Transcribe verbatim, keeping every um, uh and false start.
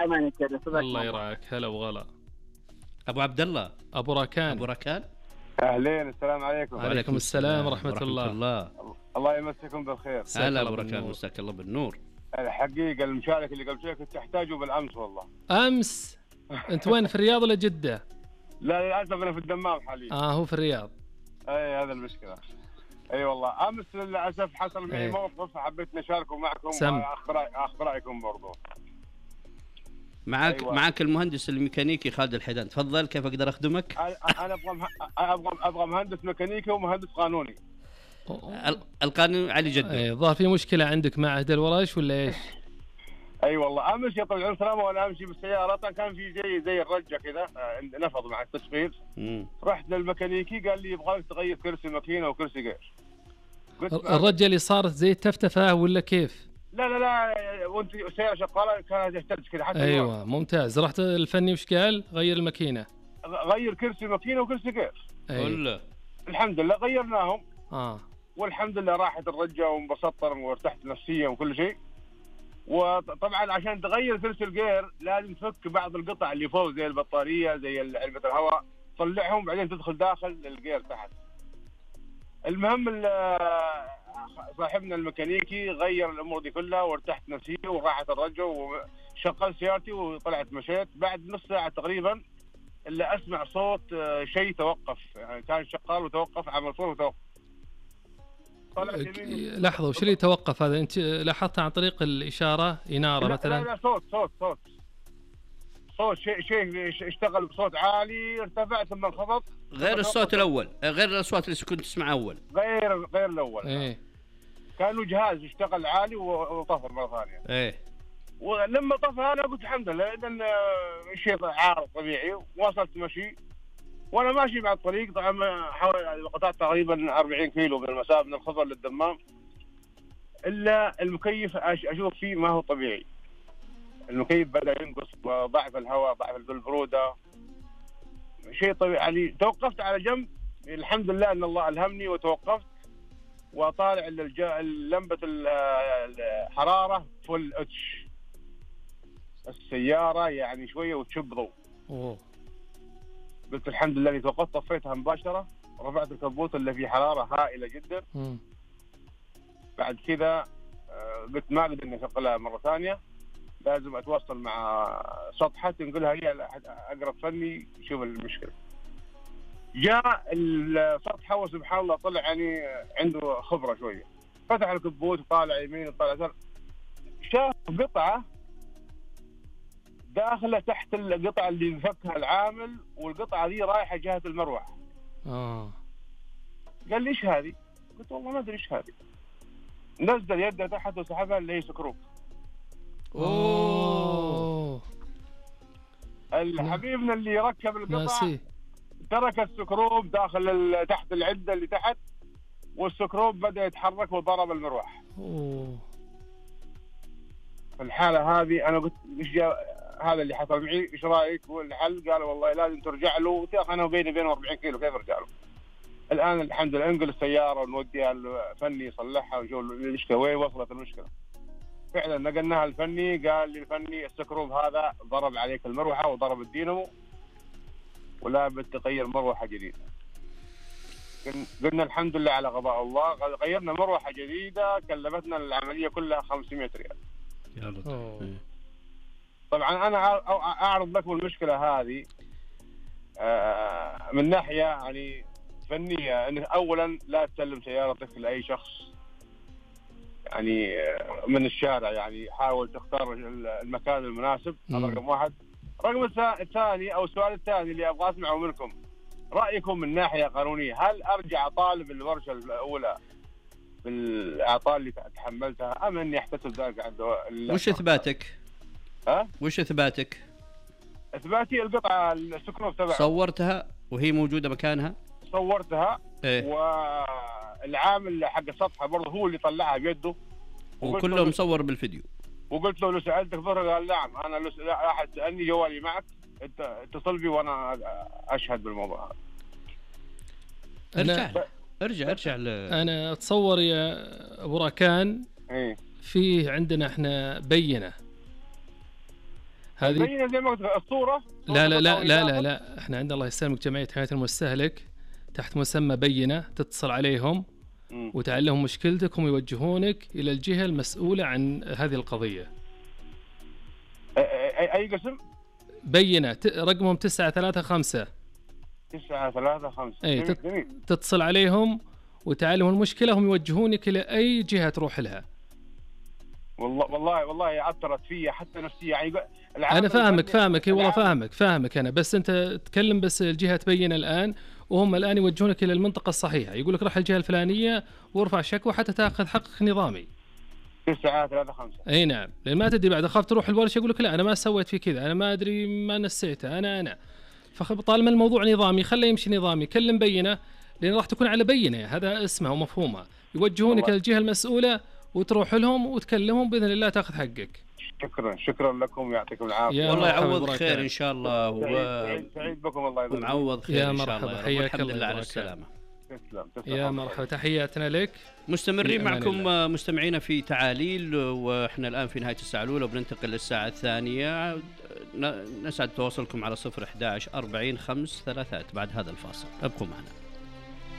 امانك يا صدق. الله يرعاك. هلا وغلا. ابو عبد الله. ابو راكان. ابو راكان. اهلين، السلام عليكم. وعليكم السلام ورحمه الله. الله. الله يمسكم بالخير. هلا ابو راكان، مساك الله بالنور. الحقيقه المشاركه اللي قبل شوي كنت احتاجه بالامس والله. امس؟ انت وين، في الرياض ولا جده؟ لا للاسف انا في الدمام حاليا. اه هو في الرياض. اي هذا المشكله. اي والله امس للاسف حصل معي أيه. موقف حبيت نشاركه معكم سم. واخذ اخذ رايكم برضو. معك أيوة. معك المهندس الميكانيكي خالد الحيدان، تفضل كيف اقدر اخدمك؟ انا ابغى مه... ابغى ابغى مهندس ميكانيكي ومهندس قانوني. القانون علي جده. اي ظهر في مشكله عندك مع عهد الورش ولا ايش؟ اي والله امس يا طويل العمر وانا امشي بالسياره كان في زي زي الرجه كذا نفض مع التشغيل. رحت للميكانيكي قال لي يبغاك تغير كرسي ماكينه وكرسي غير. الرجه اللي صارت زي التفتفه ولا كيف؟ لا لا لا وانت السياره شغاله كانت تحتاج كذا حتى. ايوه الوقت. ممتاز. رحت الفني وش قال؟ غير الماكينه. غير كرسي ماكينه وكرسي غير. أيوة. الحمد لله غيرناهم. اه والحمد لله راحت الرجه وانبسطت وارتحت نفسيا وكل شيء. وطبعا عشان تغير كرسي الجير لازم تفك بعض القطع اللي فوق زي البطاريه زي علبه الهواء، طلعهم بعدين تدخل داخل الجير تحت. المهم صاحبنا الميكانيكي غير الامور دي كلها وارتحت نفسيا وراحت الرجه وشغلت سيارتي وطلعت مشيت. بعد نص ساعه تقريبا الا اسمع صوت شيء توقف، يعني كان شغال وتوقف، عمل صوت وتوقف. لحظه، وش اللي توقف هذا؟ انت لاحظت عن طريق الاشاره اناره لا مثلا؟ لا لا صوت صوت صوت صوت شيء شيء اشتغل بصوت عالي ارتفع ثم انخفض. غير الصوت الاول، غير الاصوات اللي كنت تسمعها اول. غير غير الاول. ايه كانوا جهاز اشتغل عالي وطفى مره ثانيه. ايه ولما طفى انا قلت الحمد لله لان شيء عارض طبيعي. وصلت مشي وانا ماشي مع الطريق، طبعا حوالي قطعت تقريبا أربعين كيلو من المسافه من الخضر للدمام. الا المكيف اشوف فيه ما هو طبيعي. المكيف بدا ينقص، ضعف الهواء، ضعف البروده، شيء طبيعي. يعني توقفت على جنب، الحمد لله ان الله الهمني وتوقفت وطالع لمبه الحراره فل اتش السياره يعني شويه وتشب ضوء. اوه قلت الحمد لله اني توقفت، طفيتها مباشره، رفعت الكبوت اللي فيه حراره هائله جدا. م. بعد كذا قلت ما اقدر اني اشغلها مره ثانيه، لازم اتواصل مع سطحه تنقلها هي اقرب فني يشوف المشكله. جاء السطحه وسبحان الله طلع يعني عنده خبره شويه، فتح الكبوت وطالع يمين وطالع يسار، شاف قطعه داخله تحت القطعه اللي انفكها العامل، والقطعه دي رايحه جهه المروحه. اه قال لي ايش هذه؟ قلت والله ما ادري ايش هذه. نزل يده تحت وسحبها اللي هي سكروب. اوه الحبيبنا اللي ركب القطع ناسي. ترك السكروب داخل تحت العده اللي تحت، والسكروب بدا يتحرك وضرب المروحه. اوه في الحاله هذه انا قلت ايش هذا اللي حصل معي، ايش رايك؟ والحل قال والله لازم ترجع له. انا وبيني وبينه أربعين كيلو، كيف ارجع له؟ الان الحمد لله انقل السياره ونوديها الفني يصلحها ونشوف المشكله وين وصلت المشكله. فعلا نقلناها الفني، قال لي الفني السكروب هذا ضرب عليك المروحه وضرب الدينامو ولا بتغير مروحه جديده. قلنا الحمد لله على قضاء الله، غيرنا مروحه جديده كلفتنا العمليه كلها خمسمائة ريال. يا لطيف. طبعا انا اعرض لكم المشكله هذه من ناحيه يعني فنيه، انك اولا لا تسلم سيارتك لاي شخص يعني من الشارع، يعني حاول تختار المكان المناسب. هذا رقم واحد. رقم الثاني او السؤال الثاني اللي ابغى اسمعه منكم، رايكم من ناحيه قانونيه، هل ارجع اطالب الورشه الاولى بالاعطاء اللي تحملتها ام اني احتسب ذلك عند؟ وش اثباتك؟ ها؟ وش اثباتك؟ اثباتي القطعه السكروب تبعها صورتها وهي موجوده مكانها؟ صورتها. إيه؟ والعامل حق السطحه برضه هو اللي طلعها بيده وكله مصور بالفيديو. وقلت له لو سالتك ظهر قال نعم، انا لو احد سالني جوالي معك انت اتصل بي وانا اشهد بالموضوع هذا. ارجع ارجع ارجع ل... انا اتصور يا ابو راكان ايه فيه عندنا احنا بينه، هذه بينه زي ما قلت الصوره. لا لا لا لا لا لا احنا عندنا الله يسلمك جمعيه حمايه المستهلك تحت مسمى بينه، تتصل عليهم مم. وتعلمهم مشكلتك، هم يوجهونك الى الجهه المسؤوله عن هذه القضيه. اي, أي, أي قسم؟ بينه ت- رقمهم تسعة ثلاثة خمسة. تسعة ثلاثة خمسة. اي جميل تت- جميل. تتصل عليهم وتعلمهم المشكله، هم يوجهونك الى اي جهه تروح لها. والله والله والله عثرت فيا حتى نفسيا يعني. انا فاهمك فاهمك اي والله فاهمك فاهمك انا، بس انت تكلم بس الجهه تبين الان، وهم الان يوجهونك الى المنطقه الصحيحه، يقول لك روح الجهه الفلانيه وارفع شكوى حتى تاخذ حقك نظامي. تسعة ثلاثة خمسة. اي نعم، لان ما تدري بعد اخاف تروح الورشه يقول لك لا انا ما سويت في كذا، انا ما ادري ما نسيته انا انا فطالما الموضوع نظامي خليه يمشي نظامي، كلم بينه لان راح تكون على بينه، هذا اسمها ومفهومها، يوجهونك الى الجهه المسؤوله وتروح لهم وتكلمهم باذن الله تاخذ حقك. شكرا شكرا لكم يعطيكم العافيه. يا والله مرحبا يعوض ببركة. خير ان شاء الله و... سعيد, سعيد, سعيد بكم الله يبارك. ومعوض خير يا ان شاء مرحبا، الله. حياك الحمد الله لله على وبركاته. السلامه. تسلم تسلم. يا مرحبا، تحياتنا لك. مستمرين بأمان معكم الله. مستمعينا في تعاليل، واحنا الان في نهايه الساعه الاولى وبننتقل للساعه الثانيه. ن- نسعد تواصلكم على صفر أحد عشر أربعين خمس ثلاثات بعد هذا الفاصل، ابقوا معنا.